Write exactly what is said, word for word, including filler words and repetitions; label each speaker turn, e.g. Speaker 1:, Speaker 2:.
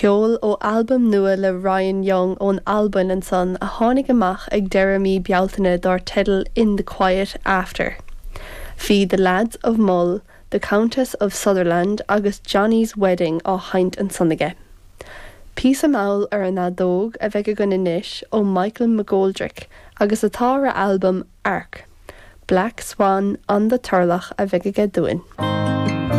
Speaker 1: Ceol ó albam nua le Ryan Young ón Albain ansan a tháinig amach ag deireadh mí Bealtaine dar teideal In the Quiet After. Bhí The Lads of Mull, The Countess of Sutherland agus Johnny's Wedding á sheinnt ansan aige. Píosa mall ar an fheadóg a bheidh againn anois ó Michael McGoldrick agus atá ar a albam Arc. Black Swan on the Turlough a bheidh aige dúinn.